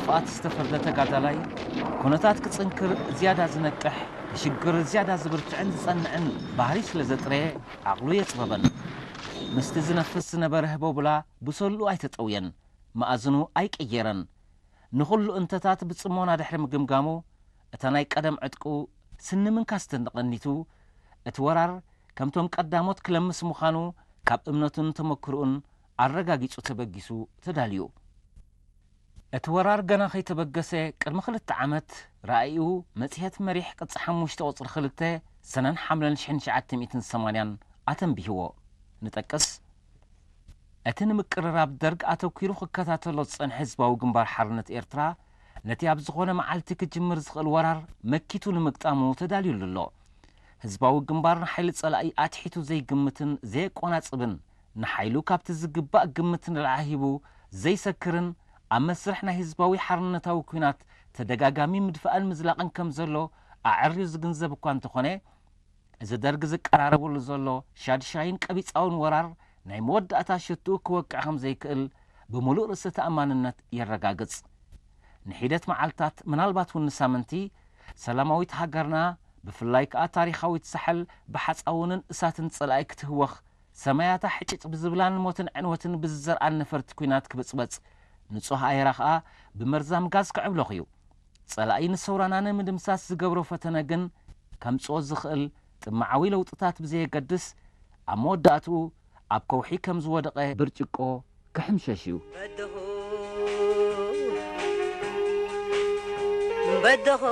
ብመስዋእቲ ዝተፈርደ ተጋዳላይ፣ ኩነታት ክጽንክር ዝያዳ ዝነቅሕ፣ ንሽግር ዝያዳ ዝብርትዕን ዝጸንዕን ባህሪ ስለ ዘጥረየ፣ ዓቕሉ የጽበበን። ምስቲ ዝነፍስ ዝነበረ ህቦብላ ብሰሉ ኣይተጠውየን፣ መኣዝኑ ኣይቀየረን። ንኹሉ እንተታት ብጽሞና ድሕሪ ምግምጋሙ፣ እታ ናይ ቀደም ዕጥቁ ስኒ ምንካስ ተንደቐኒቱ፣ እቲ ወራር ከምቶም ቀዳሞት ክለምስ ምዃኑ ካብ እምነቱን ተመክሮኡን ኣረጋጊጹ ተበጊሱ ተዳልዩ። እቲ ወራር ገና ከይተበገሰ ቅድሚ ክልተ ዓመት ራእዩ መጽሔት መሪሕ ቅጽ ሓሙሽተ ቁጽሪ ክልተ ሰነን ሓምለን ሽሕን ትሽዓተ ሚእትን ሰማንያን ኣተንቢህዎ። ንጠቅስ፣ እቲ ንምቅርራብ ደርግ ኣተኲሩ ክከታተሎ ዝጸንሐ ህዝባዊ ግንባር ሓርነት ኤርትራ፣ ነቲ ኣብ ዝኾነ መዓልቲ ክጅምር ዝኽእል ወራር መኪቱ ንምግጣሙ ተዳልዩሉ ኣሎ። ህዝባዊ ግንባር ንሓይሊ ጸላኢ ኣትሒቱ ዘይግምትን ዘየቆናጽብን፣ ንሓይሉ ካብቲ ዝግባእ ግምት ንላዕሊ ሂቡ ዘይሰክርን፣ ኣብ መስርሕ ናይ ህዝባዊ ሓርነታዊ ኲናት ተደጋጋሚ ምድፋእን ምዝላቕን ከም ዘሎ ኣዐርዩ ዝግንዘብ እኳ እንተኾነ፣ እዚ ደርግ ዝቀራረበሉ ዘሎ ሻድሻይን ቀቢጻውን ወራር ናይ መወዳእታ ሽትኡ ክወቅዕ ከም ዘይክእል ብምሉእ ርእሰ ተኣማንነት የረጋግጽ። ንሒደት መዓልታት፣ ምናልባት እውን ንሳምንቲ፣ ሰላማዊት ሃገርና፣ ብፍላይ ከኣ ታሪኻዊት ሳሕል ብሓጻውንን እሳትን ጸላኢ ክትህወኽ፣ ሰማያታ ሕጭጭ ብዝብላን ሞትን ዕንወትን ብዝዘርኣን ነፈርቲ ኲናት ክብጽበጽ፣ ንጹህ ኣየራ ከኣ ብመርዛም ጋዝ ክዕብለኽ እዩ። ጸላኢ ንሰውራና ንምድምሳስ ዝገብሮ ፈተነ ግን፣ ከምጽኦ ዝኽእል ጥምዓዊ ለውጥታት ብዘየገድስ፣ ኣብ መወዳእትኡ ኣብ ከውሒ ከም ዝወደቐ ብርጭቆ ክሕምሸሽ እዩ። በደኹ፣ በደኹ፣